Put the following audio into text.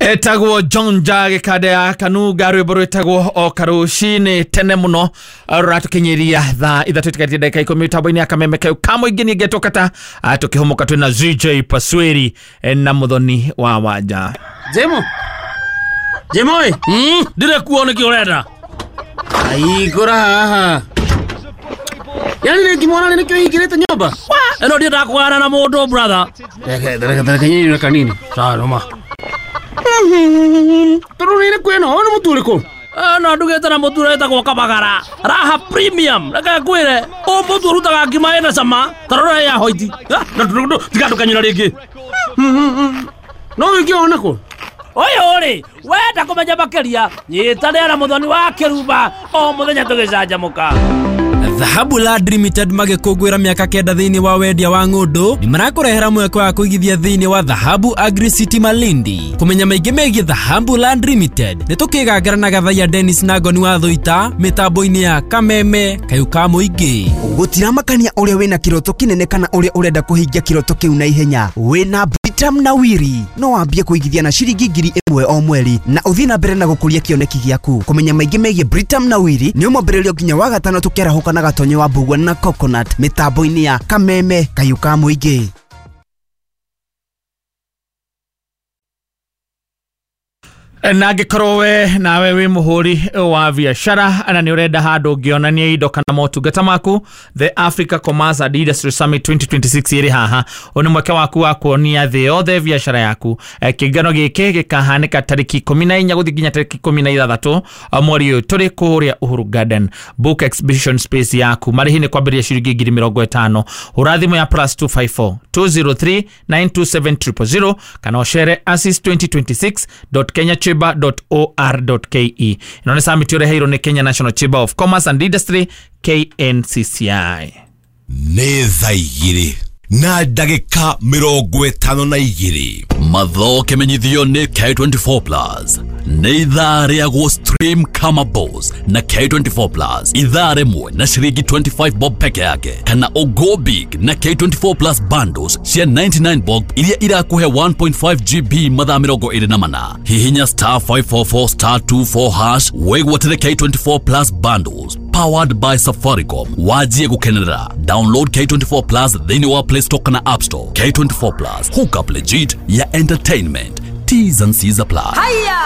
Etagwo John Jage kade ya Kanuga, rwĩmbo rwĩtagwo o karũcinĩ tene mũno, rũratũkinyĩria thaa 3 tũtigatie ndagĩka 10 mĩtambo-inĩ ya Kameme kau ka mũingĩ. Niĩ ngetwo Kata, tũkĩhũmũka twĩna ZJ Pasweri na Mũthoni wa Wanja. Jemo. Jemo ĩ. Ndire kuo nĩkĩ ũrenda? Aigũra haha. Yaani nĩ ngimwona nĩ nĩkĩo hingĩrĩte nyũmba. Ĩno ndiendaga kũgana na mũndũ, brother. Reke reke reke nyinyi kanini. Sawa noma. Tondũ nĩ kwĩno, ũyũ nĩ mũtu ũrĩkũ? No ndugĩte na mũtu ũretagwo Kabagara Raha Premium. Reke ngwĩre, ũyũ mũtu ũrutaga ngima ĩna cama ta rora ya hoiti. Tiga ndũkanyũra rĩngĩ. No ũngĩona kũ? Ũyũ rĩ, wenda kũmenya makĩria, nyitanĩra na Mũthoni wa Kĩrumba o mũthenya tũgĩcanjamũka. Dhahabu Land Limited magĩkũngũĩra mĩaka 9 thĩinĩ wa wendia wa ng'ũndũ, nĩ marakũrehera mweke wa kũigithia thĩinĩ wa Dhahabu Agri City Malindi. Kũmenya maingĩ megiĩ Dhahabu Land Limited, nĩ tũkĩgangara na Gathaiya Dennis na Ngoni wa Thũita mĩtambo-inĩ ya Kameme kayũ ka mũingĩ. Gũtiramakania ũrĩa wĩna kĩroto kĩnene kana ũrĩa ũrenda kũhingia kĩroto kĩu na ihenya, wĩna Britam na Wiri no wambie kũigithia na ciringi 1,000 o mweri na ũthiĩ na mbere na gũkũria kĩoneki gĩaku. Kũmenya maingĩ megiĩ Britam na Wiri nĩ ũmwambĩrĩrio nginya wa gatano tũkĩarahũka na Gatonye wa Mbugua na Coconut mĩtambo-inĩ ya Kameme kayũ ka mũingĩ. Na angĩkorwo we nawe wĩ mũhũri wa biacara na nĩ ũrenda handũ ũngĩonania indo kana motungata maku, The Africa Commerce and Industry Summit 2026 ĩrĩ haha. Ũyũ nĩ mweke waku wa kuonia thĩ yothe biacara yaku. Kĩngano gĩkĩ gĩkahanĩka tarĩki 14 gũthiĩ nginya tarĩki 16 mweri ũyũ tũrĩ kũrĩa Uhuru Garden. Book exhibition space yaku, marĩhi nĩ kwambĩrĩria ciringi 50,000. Hũra thimũ ya +254 203 927 000 kana ũcere asis2026.kenyachamber.or.ke. Ĩno nĩ summit ũreheirwo nĩ Kenya National Chamber of Commerce and Industry, KNCCI. Nĩ thaa 2 na ndagĩka 52. Matho kĩmenyithio nĩ K24 Plus. Nĩ ithaa rĩa stream kama boss na K24 Plus, ithaa rĩmwe na ciringi 25 bob peke yake, kana o big na K24 Plus bundles cia 99 bob iria irakũhe 1.5 GB mathaa 24. Hihinya star 544 star 24 hash wĩgwatĩre K24 Plus bundles powered by Safaricom. Wajie gukenerera. Download K24 Plus thĩinĩ wa Play Store kana App Store. K24 Plus, hook up legit ya entertainment. T's and C's apply. Haya!